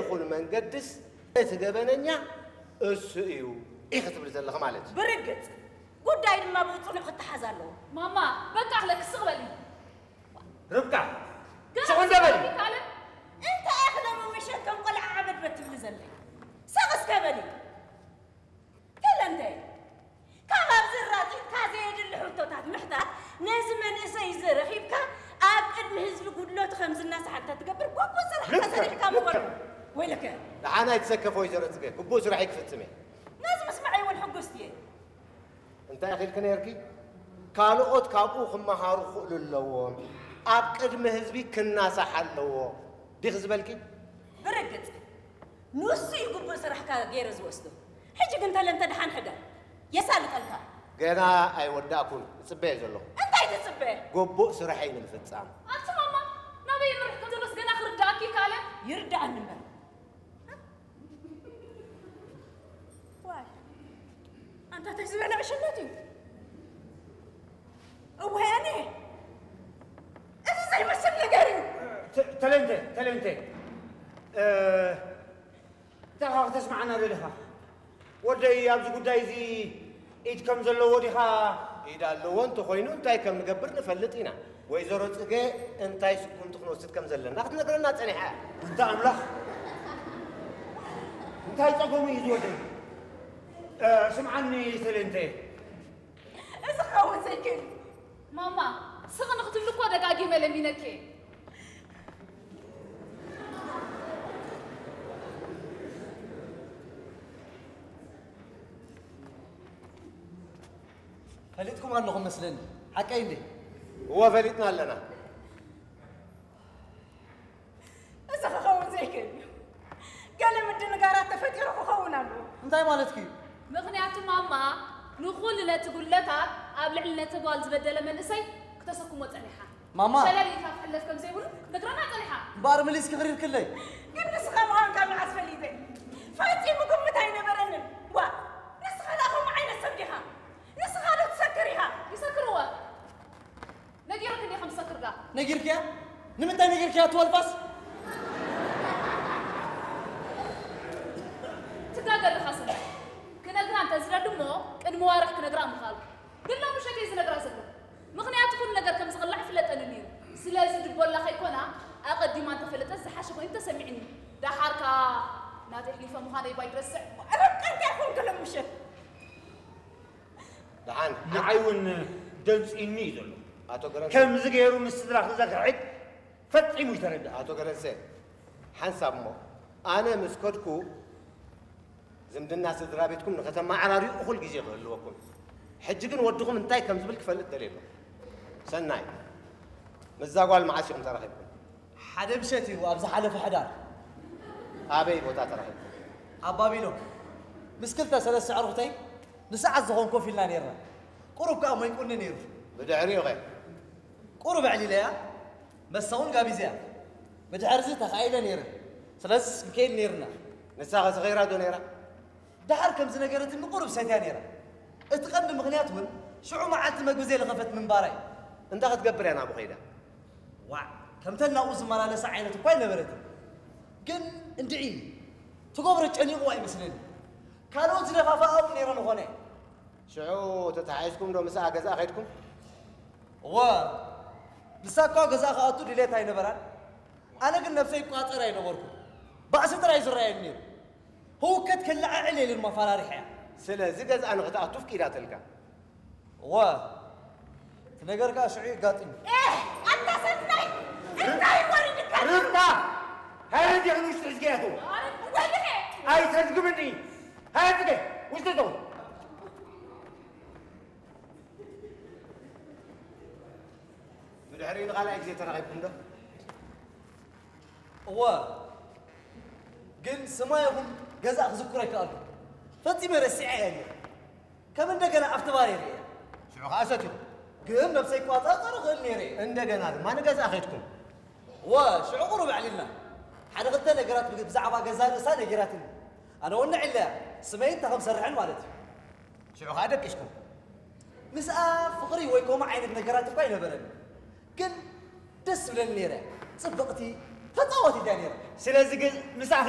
ይኹን መንገድስ እቲ ገበነኛ እሱ እዩ ኢኺ ትብሊ ዘለኺ ማለት እዩ። ብርግጽ ጉዳይ ድማ ብጽኑዕ ክተሓዝ ኣለዎ። ማማ፣ በቃ ኣኽለኪ ስቕ በሊ። ርብቃ፣ ገና ስቕ እንደ በሊ። ስቕ በሊ ካለ እንታይ ኢኺ ደሞ ምሸት ከም ቆልዓ ዓበድበድ ትብሊ ዘለኺ? ስቕ እስከ በሊ። ተለንተ፣ ካብ ኣብዚ ራጢጥካ ዘየድሊ ሕቶታት ምሕታት፣ ነዚ መንእሰይ እዚ ረኺብካ ኣብ ቅድሚ ህዝቢ ጉድለቱ ከም ዝናሳሕ እንተትገብር፣ ግቡእ ስራሕካ ልክዕ፣ ሰሪሕካ ምበሎ። ልክዕ። ወይለከ። ደሓን ኣይትሰከፊ ወይዘሮ ጽጌ፣ ግቡእ ስራሐይ ክፍጽም እየ። ነዚ ምስማዐይ እውን ሕጉስቲ እየ። እንታይ ኢኺ ኢልኪ ነይርኪ? ካልኦት ካብኡ ክመሃሩ ክኽእሉ ኣለዎም። ኣብ ቅድሚ ህዝቢ ክናሳሕ ኣለዎ ዲኺ ዝበልኪ? ብርግጽ፣ ንሱ እዩ ግቡእ ስራሕካ ገይረ ዝወስዶ። ሕጂ ግን ተለንተ ደሓን ሕደር። የሳልጠልካ። ገና ኣይወዳእኩን። እጽበ እየ ዘለኹ። እንታይ ትጽበ? ግቡእ ስራሐይ ንምፍጻም። ኣቲ ማማ፣ ናበይ የምርሕ ከም ዘሎስ ገና ክርድኣኪ ይከኣለ። ይርድኣኒ እምበር። ዋይ፣ ኣንታ እንታይ ዝበለ ዕሽነት እዩ? እወ፣ ኣነ እዚ ዘይመስል ነገር እዩ። ተ-፣ ተለንተ፣ ተለንተ። እ፣ እንታይ ኸዓ ክተስምዓና ደሊኻ? ወደይ ኣብዚ ጉዳይ እዚ ኢድ ከም ዘለዎ ዲኻ? ኢድ ኣለዎ እንተኾይኑ እንታይ ከም ንገብር ንፈልጥ ኢና። ወይዘሮ ጽገ እንታይ ስጉምቲ ክንወስድ ከም ዘለና ክትነግረና ጸኒሓ እያ። ኣንታ ኣምላኽ፣ እንታይ ጸገሙ እዩ እዚ ወደይ? እ፣ ስምዓኒ ሰሌንተ። እዚ ክኸውን ዘይክእል እዩ። ማማ፣ ስቕ ንኽትብሊ እኮ ደጋጊመ ለሚነኪ እየ። ፈሊጥኩም ኣለኹም መስለኒ። ሓቀይ እንዴ? እወ፣ ፈሊጥና ኣለና። እዚ ክኸውን ዘይክእል እዩ። ገለ ምድንጋራት ተፈጢሩ ክኸውን ኣለዎ። እንታይ ማለትኪ እዩ? ምኽንያቱ ማማ ንኹሉ ነቲ ጉድለታት ኣብ ልዕሊ ነቲ ጓል ዝበደለ መንእሰይ ክተሰክሞ ጸኒሓ። ማማ! ሸለል ኢልካ ክሕለፍ ከም ዘይብሉ ክትነግረና ጸኒሓ። እምበኣር መሊስኪ ክሪርክለይ። ግን ንስኻ ምዃንካ መዓስ ፈሊጠ? ፈጺሙ ግምት ኣይነበረንን። ዋ! ንስኻ ደኣ ከምኡ ዓይነት ሰብ ዲኻ? ንስኻ ዶ ትሰክር ኢኻ? ይሰክር እወ። ነጊረኪ እንዲየ ከም ዝሰክር ደኣ። ነጊርክያ? ንምንታይ ነጊርክያ እቲ ወልፋስ? ትጋገ ኣለኻ ሰናይ። ክነግራ እንተ ዝደሊ እሞ ቅድሚ ዋርሕ ክነግራ ምኽኣልኩ። ግን ሎሚ ምሸት እየ ዝነግራ ዘለኹ። ምኽንያቱ ኩሉ ነገር ከም ዝቕላዕ ይፍለጠኒ ነይሩ። ስለዚ ድቦላ ከይኮና ኣቐዲማ እንተፈለጠት ዝሓሸ ኮይኑ ተሰሚዕኒ። ደሓር ከኣ ናተይ ኣሕሊፈ ምዃነይ ባይትረስዕ። ርብቃ እንታይ ኮንኪ ሎሚ ምሸት? ደሓን። ንዓይ እውን ደንጺኒ እዩ ዘሎ። ኣቶ ገረንሰ። ከምዚ ገይሩ ምስ ስድራ ክዘክሕድ ፈጺሙ ይተረድእ። ኣቶ ገረንሰ፣ ሓንሳብ እሞ፣ ኣነ ምስ ከድኩ ዝምድና ስድራ ቤትኩም ንኸተመዓራርዩ እኹል ግዜ ክህልወኩም። ሕጂ ግን ወድኹም እንታይ ከም ዝብል ክፈልጥ ደልየ ኣለኹ። ሰናይ፣ ምስዛ ጓል መዓስ ኢኹም ተራኺብኩም? ሓደ ምሸት እዩ ኣብ ዝሓለፈ ሕዳር። ኣበይ ቦታ ተራኺብኩም? ኣብ ባቢሎን። ምስ ክልተ ሰለስተ ኣዕሩኽተይ ንሰዓት ዝኾን ኮፍ ኢልና ነይርና። ቁሩብ ከኣ ሞይቁኒ ነይሩ። ብድሕሪኡ ኸ? ቁሩብ ኣዕሊለያ፣ መስተ እውን ጋቢዘያ። ብድሕርዚ ተኻኢለ ነይረ። ስለዚ ንከይድ ነይርና። ንሳ ኸ ሰኺራ ዶ ነይራ? ደሓር ከም ዝነገረትኒ ቁሩብ ሰትያ ነይራ። እቲ ቀንዲ ምኽንያት እውን ሽዑ መዓልቲ መግቢ ዘይለኸፈት ምንባራ እዩ። እንታይ ክትገብር እያ ናብኡ ከይዳ? ዋዕ፣ ከምተን ናብኡ ዝመላለሳ ዓይነት እኳ ኣይነበረትን። ግን እንድዒ ትገብሮ ጨኒቕዋ ይመስለኒ። ካልኦት ዝደፋፍኣ እውን ነይረን ይኾና። ሽዑ ተተሓሒዝኩም ዶ ምስኣ ገዛ ከይድኩም? እወ፣ ንሳ እኳ ገዛ ክኣቱ ድሌት ኣይነበራን። ኣነ ግን ነብሰይ ይቋጸር ኣይነበርኩን። ባእሲ ጥራይ ዝረኣየኒ ነይሩ። ህውከት ከለዓዕል ኢለ ድማ ፈራሪሐያ። ስለዚ ገዝኣ ንኽትኣቱ ፍቂዳትልካ? እወ፣ እቲ ነገር ከኣ ሽዑ የጋጥም እዩ። ኤህ! ኣታ ሰናይ! እንታይ ወሪድካ? ርብቃ! ሃረዲ ንውሽጢ ሕዝገያቱ! ወይኔ! ኣይተዝግብኒ! ሃረዲ! ውሽጢ እቶ! ብድሕሪኡ ንኻልኣይ ግዜ ተራኺብኩም ዶ? እወ፣ ግን ስማ ይኹን ገዛ ክዝክሮ ኣይከኣልኩ። ፈጺመ ረሲዐ እየ ነይረ። ከም እንደገና ኣብቲ ባር እየ ርእየ። ሽዑ ኸዓ ሰቲኹ። ግን ነብሰይ ክቋጻጸር እኽእል ነይረ እየ። እንደገና ድማ ንገዛ ኸድኩም? እወ፣ ሽዑ ቁሩብ ኣዕሊልና። ሓደ ክልተ ነገራት ብግ-፣ ብዛዕባ ገዛ ርእሳ ነጊራትኒ። ኣነ እውን ንዕለያ፣ ስመይ እንታይ ከም ሰርሕን ማለት እዩ። ሽዑ ኸዓ ደቂስኩም? ምስኣ ፍቕሪ ወይ ከምኡ ዓይነት ነገራት እኳ ኣይነበረን። ግን ደስ ትብለኒ ነይረ። ጽብቕቲ፣ ተጻዋቲት እያ ነይራ። ስለዚ ግን ምሳኺ